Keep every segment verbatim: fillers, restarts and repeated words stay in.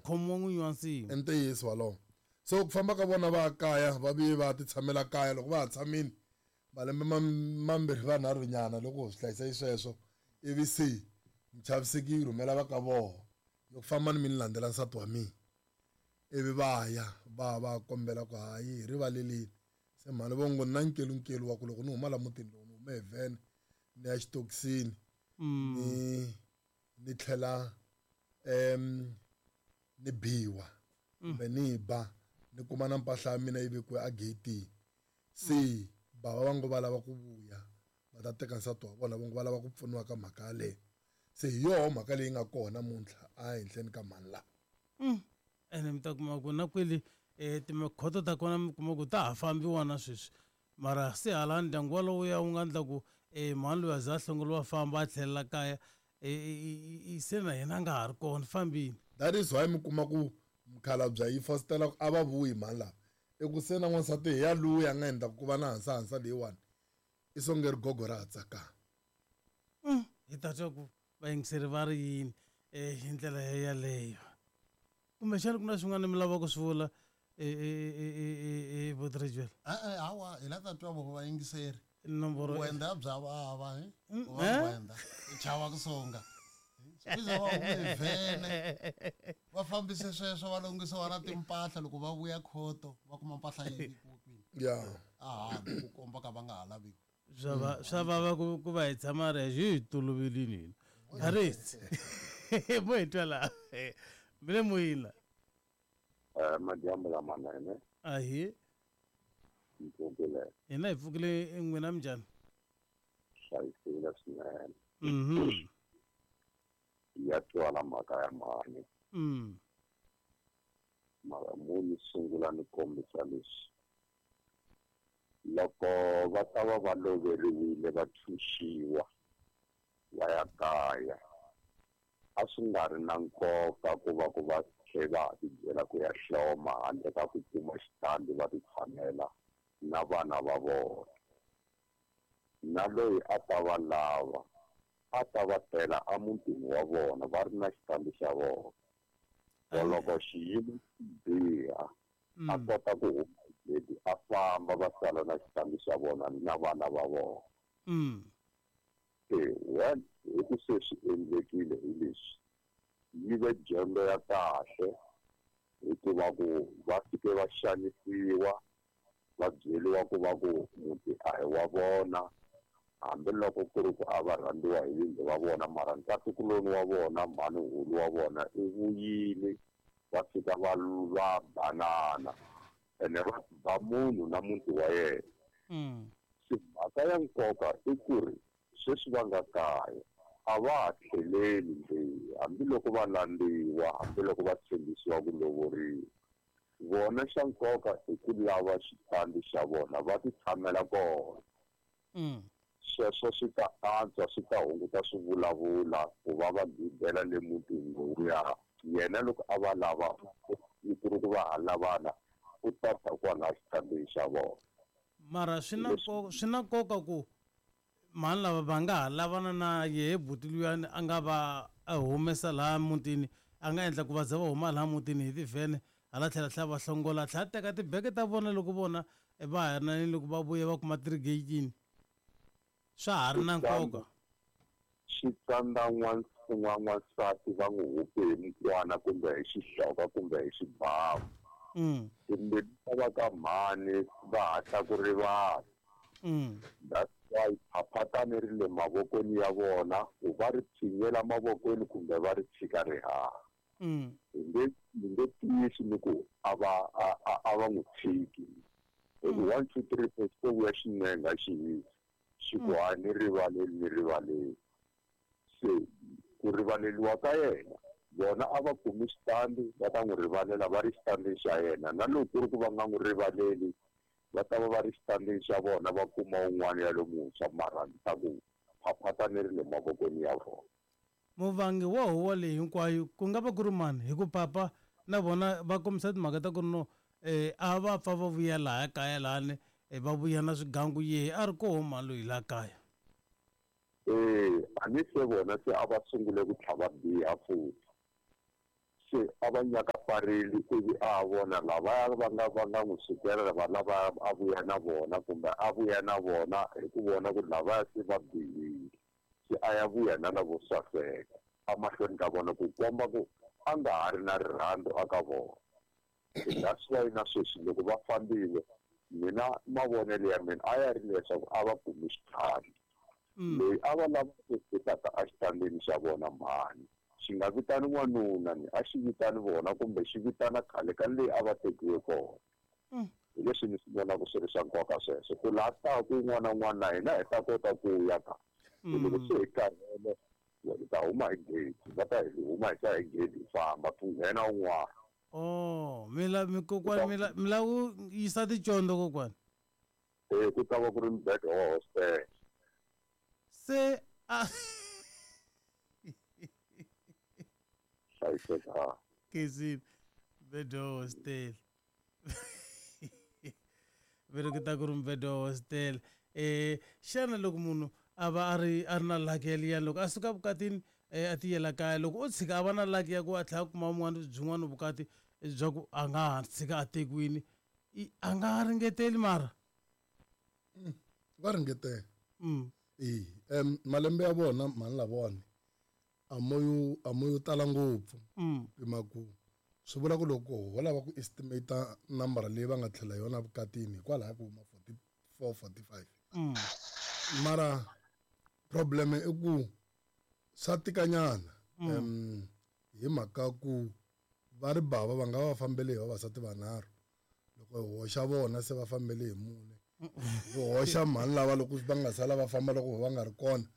Khomiwa n'winyi wa nsimu. I ntiyiso walowo. So ku famba ka vona va kaya va vuye va ti tshamela kaya loko va ha tshamile malembe mambirhi vanharhu nyana loko swi hlayisa xisweswo ivi se muchaviseki yi rhumela va ka voho loko famba ni mi ni landzela nsati wa mina ivi va ya va va kombela ku hayi hi rivaleleni se mhani vo ngo na nkelunkelu wa ku loko ni huma la mutini lowu ni hume hi vhene ni ya xitokisini ni ni tlhela um ni biwa kumbe ni ba ni kuma na mpahla ya mina yi vekiwe ageyitini se bava va ngo va lava ku vuya va ta teka nsati wa vona va ngo va lava ku pfuniwa ka mhaka yaleyo se hi yoho mhaka leyi nga kona namuntlha a henhleni ka mhani laha. Ene mi ta kuma ku na kwele um timikhoto ta kona mi kuma ku ta ha fambiwa na sweswi mara se hala ndyangu walowo ya wu nga endla ku um mhani loyi a za a hlongoliwa famba a tlhelela kaya se na yena a nga ha ri kona fambini. That is why mi kuma ku mukhalabye yi fositela ku a va vuyi mhani lava i ku se na n'wansati hi ya luya a nga endla ku va na hansahansa leyiwani i songe rigogo ra ha tsakanga. Hi ta twa ku vayingiseri va ri yini um hi ndlela yaleyo kumbexana ku na swin'wana mi lavaka ku swi vula Botrejwela? E-e hawa hi la ta twa vo vayingiseri nomboro wenda bya vava he va wenda i chava ku songa swi va hume vhene va fambise sweswo va longisiwa na timpahla loko va vuya khoto va kuma mpahla yi vekiwe kwini ya a handle ku komba ka va nga ha laviwi. Swa va swa vava ku ku va hi tshama ri hi tolovelini hina Harris mo hi twa laha mi le moyeni la. Madyambu lamanene. Ahee. Mi pfukile. Hina hi pfukile n'wina minjhani? Hlayisekile swinene. Mhm. Ya twala mhaka ya mhani. Mm. Mara mo ni sungula ni kombisa leswi loko va ta va va loveriwile va tshunxiwa va ya kaya a swi nga ri na nkoka ku va ku va tlhe va ha tibyela ku ya hloma handle ka ku kuma xitandi va ti tshamela na vana va vona na loyi a ta va lava a ta va tela emutini wa vona va ri na xitandi xa vona loko xiyimo xi biha a kota ku huma gedi a famba va sala na xitandi xa vona na vana va vona. Se one hi ku se swi endlekile hi leswi yi ve dyondzo ya kahle hikuva ku va fike va xanisiwa va byeriwa ku va ku muti a hi wa vona hambiloko ku ri ku a va rhandziwa hi vingi va vona mara nkatikuloni wa vona mhani hulu wa vona i vuyile va fika va va banana ene va ba munhu na muti wa yena. Se mhaka ya nkoka i ku ri sweswi va nga kaya a va ha tlheleli nje hambiloko va landziwa hambiloko va tshembisiwa ku lovoriwa vona xa nkoka i ku lava xitandi xa vona va ti tshamela kona. Sweswo swi ta antswa swi ta hunguta swivulavula ku va va gibela le mutini lowuya yena loko a va lava ku ri ku va ha lavana u ta ta kwala xitandini xa vona. Mara swi na nkoka swi na nkoka ku mhani lava va nga ha lavana na yehe buti luyani a nga va a humesa laha mutini a nga endla ku va za va huma laha mutini hi tivhene hala tlhela tlhela va hlongola tlhela teka tibeke ta vona loko vona va ha ri na loko va vuya va kuma ti ri geyitini swa ha ri na nkoka. Xi tsandza n'wansati va n'wi hupe hi mukwana kumbe hi xihloka kumbe hi xibamu. Timbilu ta va ka mhani va hatla ku rivala. That's why phaphatani ri le mavokweni ya vona ku va ri tshinyela mavokweni kumbe va ri tshika ri haha. Hi nge hi nge tiyisi ni ku a va a a va n'wi tshiki. Hi ku one two three four xi to vuya xinenga xi hisa xi ku hayi ni rivaleli ni rivaleli. Se ku rivaleliwa ka yena vona a va kumi xitandi va ta n'wi rivalela va ri xitandini xa yena na loko ku ri ku va nga n'wi rivaleli va ta va va ri xitandini xa vona va kuma un'wana ya lomuntshwa mara ni ta ku phaphatani ri le mavokweni ya vona. Muvangi wa huwa leyi hinkwayo ku nga va ku ri mani hi ku papa na vona va kombisa timhaka ta ku ri no um a va pfa va vuya laha kaya lahani va vuya na swigangu yehe a ri koho mhani loyi laha kaya. Ee a ni se vona se a va sungule ku tlhava biha futhi. Se a va nyakafarile ivi a vona lavaya va nga va nga n'wi sukela va lava a vuya na vona kumbe a vuya na vona hi ku vona ku lavaya se va bihile. Se a ya vuya na lavo saseka emahlweni ka vona ku komba ku a nga ha ri na rirhandzu aka vona. That's why na sweswi loko va fambile mina mavonelo ya mina a ya ri leswaku a va kumi xitandi. Loyi a va lava ku fikaka exitandini xa vona mhani xi nga vitani n'wanuna ni a xi vitani vona kumbe xi vitana khale ka leyi a va tekiwe kona. Hi leswi ni swi vonaka swi ri swa nkoka sweswo ku laha taku un'wana na un'wana na hina hi ta kota ku ya ka. Loko se hi karhele hi ta huma hi gate, va ta hi huma hi ta hi gate hi famba ku nghena un'wana. Oh, mi la mi kokwani mi la mi la ku yisa ticondo kokwani. Eh, ku ta va ku ri mubedo wa hostel. Se a hlayiseka. Kezi mubedo wa hostel. Veri ku ta ku ri mubedo wa hostel. Eh, xana loko munhu a va a ri a ri na lucky yaliya loko a suka vukatini a tiyela kaya loko o tshika a va na lucky ya ku a tlhela a kuma un'wana byin'wana vukati bya ku a nga ha tshika a tekiwini a nga ha ringeteli mara va ringetela. E um malembe ya vona mhani lavawani a mo yo a mo yo tala ngopfu pima ku swi vula ku loko ho lava ku estimate nambara leyi va nga tlhela yona vukatini hikwalaho ku huma forty-four forty-five. Mara problem i ku swa tikanyana um hi mhaka ku va ri bava va nga va fambele hi vavasati vanharhu loko hi hoxa vona se va fambele hi mune ku hoxa mhani lava loko va nga sala va famba loko va nga ri kona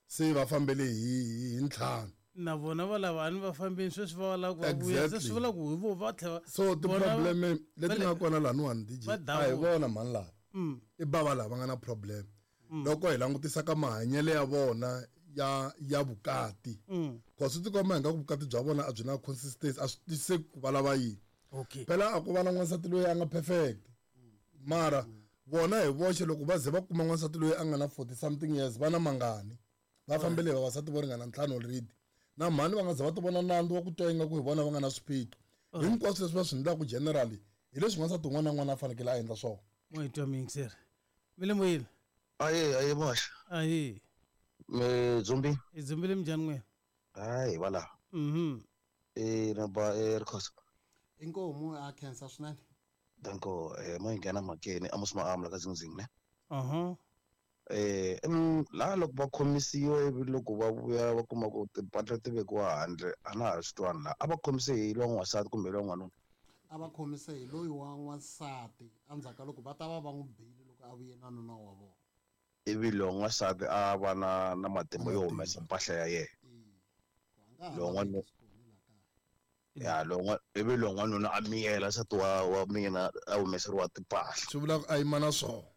se va fambele hi hi ntlhanu na vona va lava a ni va fambeni sweswi va lava ku va vuya se swi vula ku hi vo va tlhela. So ti-problem leti nga kona laniwani D J a hi vona mhani lava i bava lava nga na problem loko hi langutisa ka mahanyelo ya vona ya ya vukati cause swi tikomba hi nga ku vukati bya vona a byi na consistency a swi twisiseki ku va lava yini. Phela a ku va na n'wansati loyi a nga perfect mara vona hi voxe loko va ze va kuma n'wansati loyi a nga na forty something years va na mangani va fambele hi vavasati vo ringana ntlhanu already na mhani va nga ze va ti vona nandzu wa ku twa ingaku hi vona va nga na swiphiqo hinkwaswo leswi va swi endlaka generally hi leswi n'wansati un'wana na un'wana a fanekele a endla swona. Mo hi twa miyingiseri mi le moyeni. Aye aye moxa. Aye. Me dzumbi. Hi dzumbile minjhani n'wina? Hayi va laha. Mhm. Eh na ba eh Rikhosa. Inkomu a khensa swinene. Danko eh mo nghena mhakeni a mos ma amla ka zingzing ne. Aha. Eh em la loko va khomisiwe ivi loko va vuya va kuma ku timpahla ti vekiwa handle a na ha swi twani la a va khomise hi lowa n'wansati kumbe lowa n'wanuna. A va khomise hi loyi wa n'wansati endzhaku ka loko va ta va va n'wi bile loko a vuye na nuna wa vona. Ivi lowa n'wansati a va na na matimba yo humesa mpahla ya yena. Lowa n'wanuna ya lowa ivi lowa n'wanuna a miyela nsati wa wa mina a humeseriwa timpahla. Swi vula ku a yima na swona.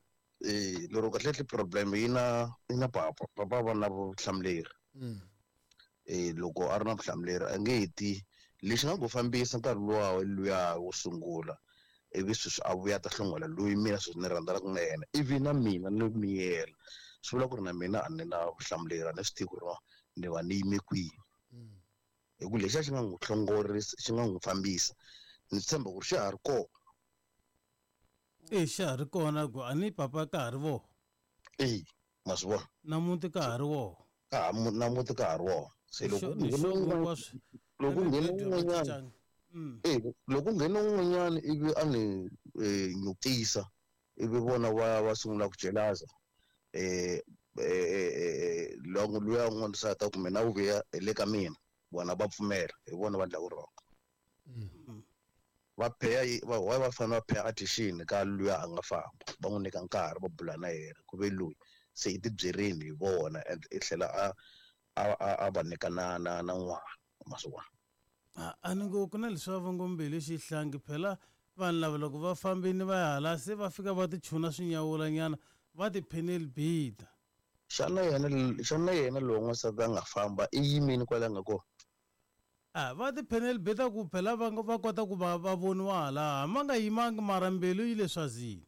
Eh lero kahle problem yi na yi na papa papa va na vutihlamuleri. Eh loko a ri na vutihlamuleri a nge ti lexi nga ku fambisa nkarhi luwa luya wo sungula ivi sweswi a vuya ta hlongola loyi mina sweswi ni rhandzanaka na yena ivi na mina ni miyela swi vula ku ri na mina a ni na vutihlamuleri a ni swi tivi ku ri ni va ni yime kwihi hi ku lexiya xi nga n'wi hlongorisa xi nga n'wi fambisa ni tshemba ku ri xa ha ri kona. E xa ha ri kona ku a ni papa ka ha ri vona. E ma swi vona na muti ka ha ri wona ka ha na muti ka ha ri wona se loko loko nghena un'wanyana e loko nghena un'wanyana ivi a ni nyukisa ivi vona va va sungula ku jelaza eh eh loko luya n'wansati kumbe na vuya hi le ka mina vona va pfumela hi vona va endla wrong. Va pay va why va fanele va pay attention ka luya a nga famba va n'wi nyika nkarhi va bula na yena ku ve loyi se i tibyerini hi vona and i tlhela a a a va nyika na na na n'wana ma swi vona. A ni ngo ku na leswi va ngo mbilu xihlangi phela vanhu lava loko va fambini va ya hala se va fika va tichuna swinyawulanyana va tipheneli bida. Xana yena xana yena lowu n'wansati a nga famba i yimini kwala nga kona? A va tipheneli bida ku phela va va kota ku va va voniwa hala ma nga yimangi mara mbilu yi le swazini.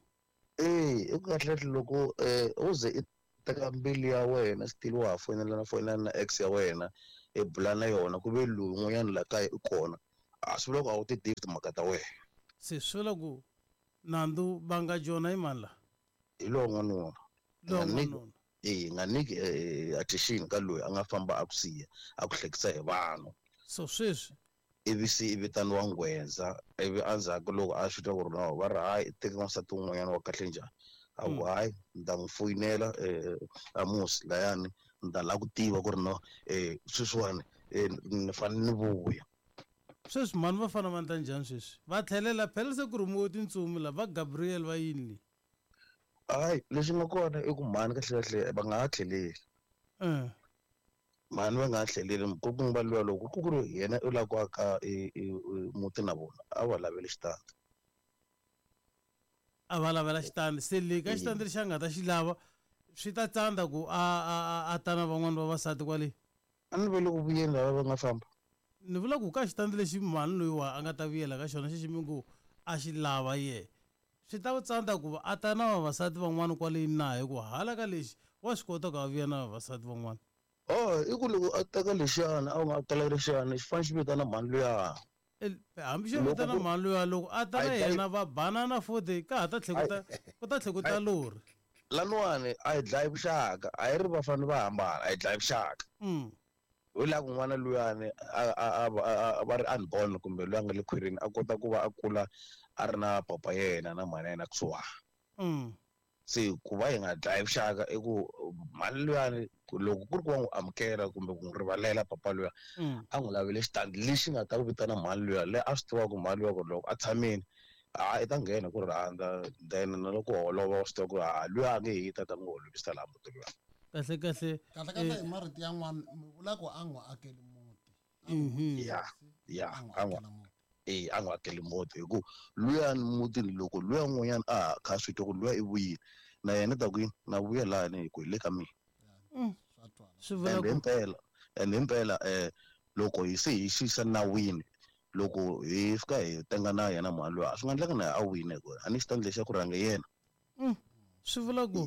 Eh i kahle loko eh u ze i teka mbilu ya wena still wa ha foyinela na foyinela na ex ya wena i bula na yona ku ve loyi un'wanyana la kaya i kona A swi vula ku a wu ti tivi timhaka ta wena. Se swi vula ku nandzu va nga jona i mani la? Hi lowa n'wanuna. Lowa n'wanuna. Eh, nga nyiki attention ka loyi a nga famba a ku siya, a ku hlekisa hi vanhu. So sweswi ivi se i vitaniwa nghwendza, ivi endzhaku loko a swi twa ku ri no va ri hayi teka n'wansati wun'wanyana wa kahle njhani, a ku hayi ni ta n'wi foyinela Amos layani ni ta lava ku tiva ku ri no sweswiwani ni fanele ni vuya. Sweswi mhani va fanele va endla njhani sweswi? Va tlhelela phela se ku rhumiwe tintsumi la va Gabriel va yini le? Hayi lexi nga kona i ku mhani kahle kahle va nga ha tlheleli. Mhani va nga ha tlheleli ku va luya loko ku ku ri yena u lava ku aka muti na vona a va laveli xitandi. A va lavela xitandi se le ka xitandi lexi a nga ta xi lava swi ta tsandza ku a a a ta na van'wani vavasati kwale. A ni vele ku vuyeni lava va nga famba. Ni vula ku ka xitandi lexi mhani loyiwa a nga ta vuyela ka xona xexi mi ngo a xi lava yehe swi ta tsandza ku a ta na vavasati van'wani kwale na hikuva hala ka lexi wa swi kota ku a vuya na vavasati van'wana. Oh, i ku loko a teka lexiyana a nga teka lexiyana xi fanele xi vitana mhani luya. Hambi xo vitana mhani luya loko a ta na yena va banana futhi ka ha ta tlhe ku ta ku ta tlhe ku ta lori. Laniwani a hi dlayi vuxaka, a hi ri va fanele va hambana, a hi dlayi vuxaka. Hi laha ku n'wana luyani a a a va ri unborn kumbe loyi a nga le khwirini a kota ku va a kula a ri na papa yena na mhani yena kusuhani. Se ku va hi nga dlayi vuxaka i ku mhani luyani loko ku ri ku wa n'wi amukela kumbe ku n'wi rivalela papa luya a n'wi lavele xitandi lexi nga ta ku vitana mhani luya leyi a swi tivaka ku mhani luya ku loko a tshamile ha i ta nghena ku rhandza then na loko holova wa swi tiva ku ha luya a nge hi ta ta n'wi holovisa laha muti luya. Kahle kahle kahle kahle hi marito yan'wana mi vula ku a n'wi akeli muti. Ya ya a n'wi eh a n'wi akeli muti hi ku luyani mutini loko luya n'wanyana a kha swi twa ku luya i vuyile na yena ta ku yini na vuya lahani hi ku hi le ka mina. Swi vula ku himpela and himpela eh loko hi se hi xisa nawini loko hi fika hi tenga na yena mhani luya swi nga endleka na a wina hi ku a ni xitandi lexi xa ku rhanga yena. Swi vula ku